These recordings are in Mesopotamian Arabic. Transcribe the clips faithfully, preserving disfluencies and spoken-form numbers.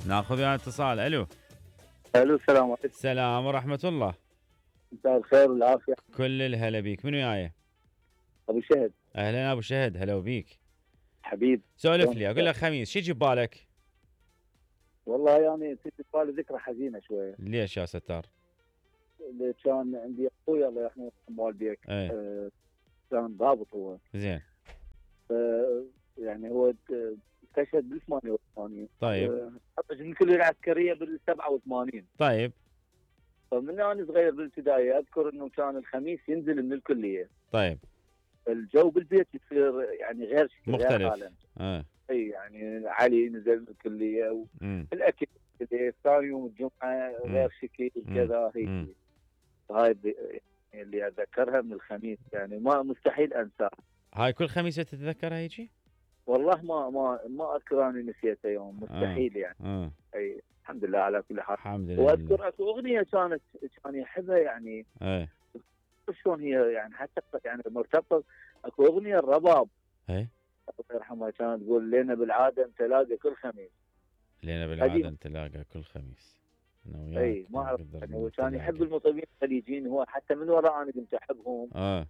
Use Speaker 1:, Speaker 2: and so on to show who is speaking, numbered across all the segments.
Speaker 1: ناخذ ويا اتصال. الو
Speaker 2: الو السلام عليكم.
Speaker 1: السلام ورحمة الله.
Speaker 2: مساء الخير والعافية.
Speaker 1: كل الهلا بيك. من وياي؟
Speaker 2: ابو شهد.
Speaker 1: اهلا ابو شهد، هلا وبيك.
Speaker 2: حبيب
Speaker 1: سولف لي، اقول لك خميس شو يجي ببالك؟
Speaker 2: والله يعني تجي ببالي ذكرى حزينة شوية.
Speaker 1: ليش يا ستار؟
Speaker 2: كان عندي اخوي الله يرحمه والديك.
Speaker 1: ايه.
Speaker 2: آه كان ضابط هو.
Speaker 1: زين.
Speaker 2: آه يعني هو استشهد بال ثمانية وثمانين.
Speaker 1: طيب.
Speaker 2: تخرج من الكلية العسكرية بال سبعة وثمانين.
Speaker 1: طيب.
Speaker 2: فمن انا صغير بالابتدائي اذكر انه كان الخميس ينزل من الكلية.
Speaker 1: طيب.
Speaker 2: الجو بالبيت يصير يعني غير شكل
Speaker 1: مختلف.
Speaker 2: غير
Speaker 1: اه.
Speaker 2: اي يعني علي نزل من الكلية والاكل ثاني يوم الجمعة غير شكل كذا هيك. هاي اللي اتذكرها من الخميس يعني ما مستحيل انساه.
Speaker 1: هاي كل خميس تتذكرها هيجي؟
Speaker 2: والله ما ما ما اذكر اني نسيتها يوم مستحيل يعني.
Speaker 1: آه.
Speaker 2: اي الحمد لله على كل حال.
Speaker 1: الحمد لله.
Speaker 2: واذكر اكو اغنيه كانت كان يحبها يعني.
Speaker 1: ايه.
Speaker 2: شلون هي يعني حتى يعني مرتبطه اكو اغنيه الرباب.
Speaker 1: ايه.
Speaker 2: الله يرحمها كانت تقول لنا بالعاده نتلاقى كل خميس.
Speaker 1: لنا بالعاده نتلاقى كل خميس. انا وياك.
Speaker 2: اي ما اعرف يعني هو كان يحب المطربين الخليجيين هو حتى من وراء انا كنت احبهم.
Speaker 1: اه.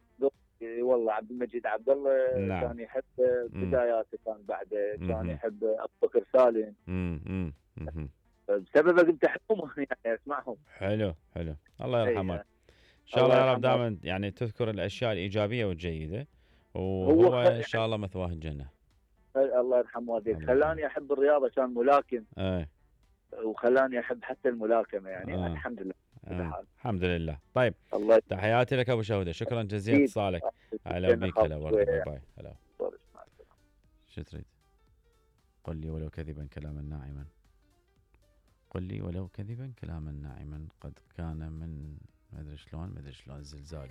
Speaker 2: والله عبد المجيد عبد الله.
Speaker 1: نعم.
Speaker 2: كان يحب بداياته كان بعده كان يحب ابو بكر سالم.
Speaker 1: امم
Speaker 2: بسببه كنت احبهم يعني اسمعهم.
Speaker 1: حلو حلو الله يرحمه. ان شاء الله يا رب دائما يعني تذكر الاشياء الايجابيه والجيده وهو ان شاء الله مثواه الجنه.
Speaker 2: الله يرحمه والديك خلاني احب الرياضه كان ملاكم.
Speaker 1: ايه.
Speaker 2: وخلاني احب حتى الملاكمه يعني آه. الحمد لله.
Speaker 1: آه. الحمد لله. طيب
Speaker 2: الله
Speaker 1: تحياتي لك ابو شهوده، شكرا جزيلا اتصالك. هلا بك. هلا ورد. باي باي. هلا. شو تريد؟ قل لي ولو كذبا كلاما ناعما، قل لي ولو كذبا كلاما ناعما قد كان من ما ادري شلون ما ادري شلون الزلزال.